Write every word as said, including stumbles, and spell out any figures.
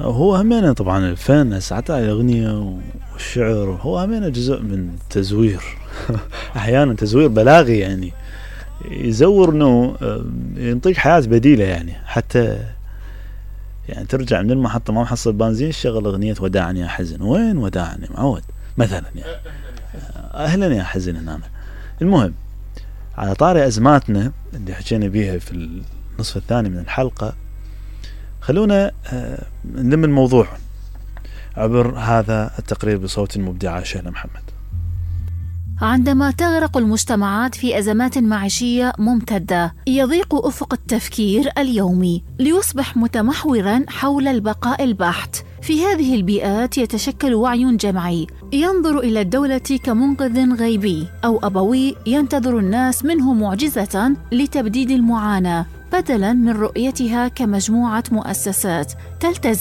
هو همينه طبعا الفن حتى الأغنية والشعر هو همينه جزء من تزوير أحيانا تزوير بلاغي، يعني يزور انه ينطيك حياة بديلة، يعني حتى يعني ترجع من المحطة ما محصل بنزين شغل أغنية وداعني يا حزن. وين وداعني معود مثلا، يعني أهلا يا حزن هنا. المهم على طاري أزماتنا اللي حكينا بيها في النصف الثاني من الحلقة، خلونا نلم الموضوع عبر هذا التقرير بصوت المبدعة شهلة محمد. عندما تغرق المجتمعات في أزمات معيشية ممتدة، يضيق أفق التفكير اليومي ليصبح متمحوراً حول البقاء البحت. في هذه البيئات يتشكل وعي جمعي ينظر إلى الدولة كمنقذ غيبي أو أبوي ينتظر الناس منه معجزة لتبديد المعاناة، بدلاً من رؤيتها كمجموعة مؤسسات تلتزم